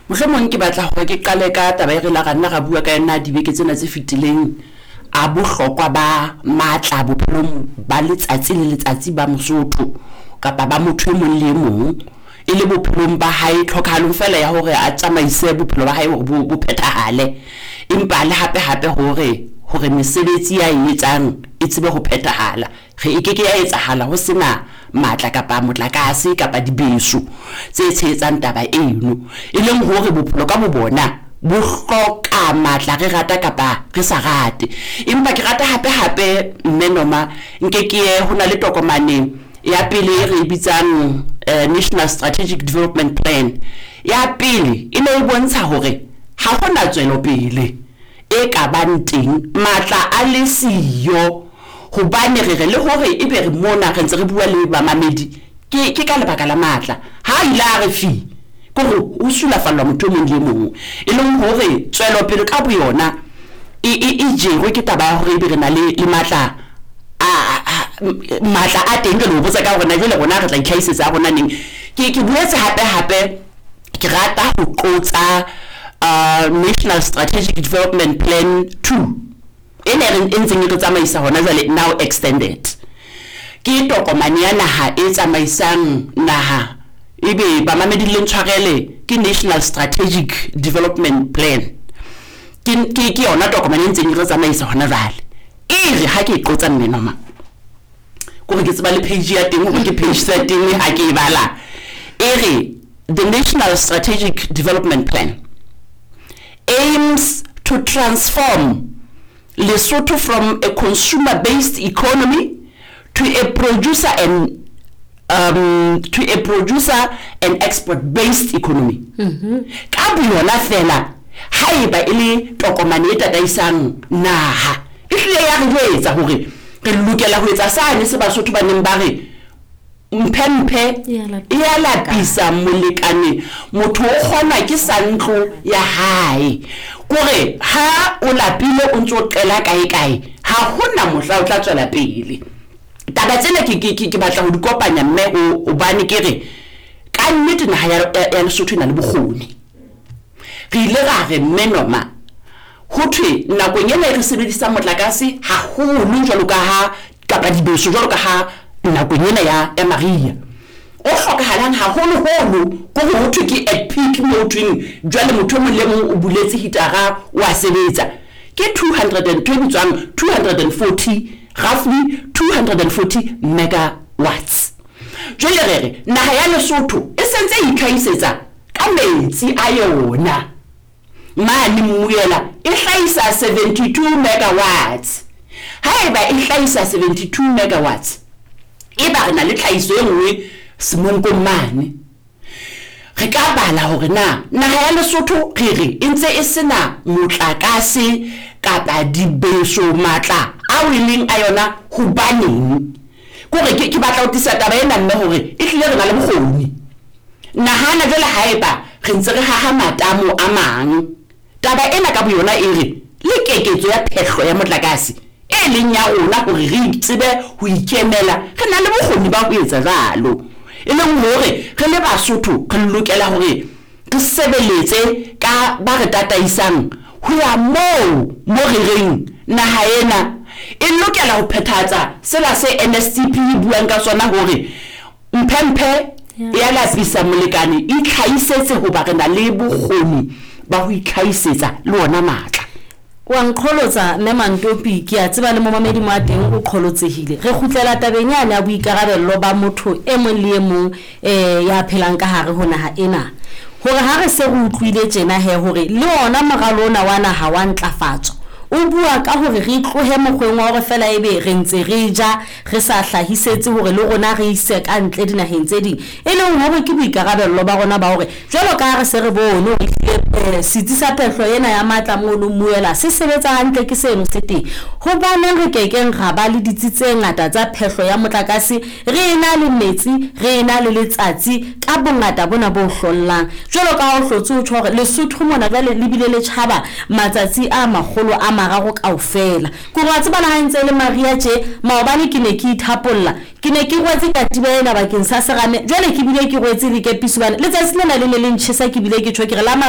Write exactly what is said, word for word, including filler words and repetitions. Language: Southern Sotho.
Mohlomong ke batla hore ke qale ka taba e re la ra nna ra bua ka yona dibeke tsena tse fetileng, a bohlokwa ba matla bophelong ba letsatsi le letsatsi ba Mosotho kapa ba motho e mong le e mong, e le bophelong ba hae, tlhokahalong fela ya hore a tsamaise bophelo ba hae hore bo bo phethahale, empa le hape hape hore hore mesebetsi ya e etsang e tsebe ho phethahala. Re e keke ya etsahala ho sena matla kapa motlakase kapa dibeso tse tshehetsang taba eno, e leng hore bophelo ka bo bona bo hloka matla, re rata kapa re sa rate. Empa ke rata hape hape mme Noma nke ke ye ho na le tokomane ya pele e re e bitsang eh, National Strategic Development Plan. Ya pele e ne e bontsha hore ha hona tswelopele e ka bang teng matla a le siyo, hobane re re le hore ebe re mona re ntse re bua le bamamedi ke ke ka lebaka la matla. Ha ile a re fi ke hore ho sulafallwa motho e mong le e mong, e leng hore tswelopele ka boyona e e e jerwe ke taba ya hore ebe re na le le matla a a matla a teng. Jwale ho botsa ka hore na jwale rona re tla itlhahisetsa a rona neng. Ke ke boetse hape hape ke rata ho qotsa uh, National Strategic Development Plan two e ne re e ntseng e re tsamaisa hona jwale, now extended. Ke tokomane ya naha e tsamaisang naha, ebe bamamedi le ntshwarele, ke National Strategic Development Plan. Ke ke ke yona tokomane e ntseng e re tsamaisa hona jwale. E re ha ke e qotsa mme Noma, kore ke tseba le page ya teng hore ke page thirteen ha ke e bala, e re the National Strategic Development Plan aims to transform Lesotho from a consumer-based economy to a producer and um, to a producer and export-based economy. Ka boyona fela, haeba e le tokomane e tataisang naha, e hlile ya re jwetsa hore re lokela ho etsa sane se Basotho ba neng ba re mphe-mphe E ya lapisa e ya lapisa molekane, motho o kgonwa ke sa ntlo ya hae. Kore ha o lapile o ntso o qela kae kae, ha hona mohla o tla tswela pele. Taba tsena ke ke ke batla ho di kopanya mme ho hobane ke re ka nnete naha ya, ya, ya Lesotho e na le bokgoni. Re ile ra re mme Noma, ho thwe nakong ena e re sebedisang motlakase haholo jwalo ka ha kapa dibeso jwalo ka ha nakong ena ya ya mariha o hlokahalang haholoholo, ko ho thwe ke at peak mo ho thweng jwale motho e mong le mong o buletse hitara o a sebetsa, ke two hundred and ntho e bitswang two hundred and forty, roughly two hundred and forty megawatts. Jwale re re naha ya Lesotho e sentse e itlhahisetsa ka metsi a yona mane Mmuela e hlahisa seventy-two megawatts. Haeba e hlahisa seventy-two megawatts, eba re na le tlhahiso e nngwe Semonkong mane, re ka bala hore na naha ya Lesotho re re e ntse e sena motlakase kapa dibeso matla ao e leng a yona hobaneng. Kore ke, ke batla ho tlisa taba ena mme hore e hlile re na le bokgoni. Nahana jwale haeba re ntse re haha matamo a mang, taba ena ka boyona e re le keketso ya phehlo ya motlakase e leng ya rona hore re tsebe ho ikemela, re na le bokgoni ba ho etsa jwalo. E leng hore re le Basotho re lokela hore re sebeletse ka ba re tataisang ho ya moo mo re reng naha ena e lokela ho phethahatsa sela se N S T P e buang ka sona hore mphe-mphe ya lapisa molekane, itlhahisetse hoba re na le bokgoni ba ho itlhahisetsa le ona matla. Wa nqholotsa mme Mantopi, ke a tseba le momamedi mo a teng o qholotsehile. Re kgutlela tabeng yane ya boikarabello ba motho e mong le e mong, eh, ya phelang ka hare ho naha ena. Hore ha re se re utlwile tjena he hore le ona moralo ona wa naha wa ntlafatso o bua ka hore re tlohe mokgweng wa hore fela ebe re ntse re ja re sa hlahisetse hore le rona re ise ka ntle dinaheng tse ding, e leng hore ke boikarabello ba rona ba hore jwalo ka ha re se re bone hore ehlile, eh, setsi sa phehlo ena ya matla mono Mmuela se sebetsa hantle, ke seno se teng. Hobaneng re kekeng ra ba le ditsi tse ngata tsa phehlo ya motlakase, re ena le metsi, re ena le letsatsi ka bongata bona bo hlollang. Jwalo ka ha o hlotse ho tjho hore Lesotho mona jwale le bile le tjhaba matsatsi a makgolo a mararo kaofela. Ke hore wa tseba le ha ntse e le mariha tje, maobane ke ne ke ithapolla, ke ne ke rwetse katiba ena bakeng sa serame, jwale ke bile ke rwetse le kepiso hobane letsatsi lena le ne le ntjhesa, ke bile ke tjho ke re la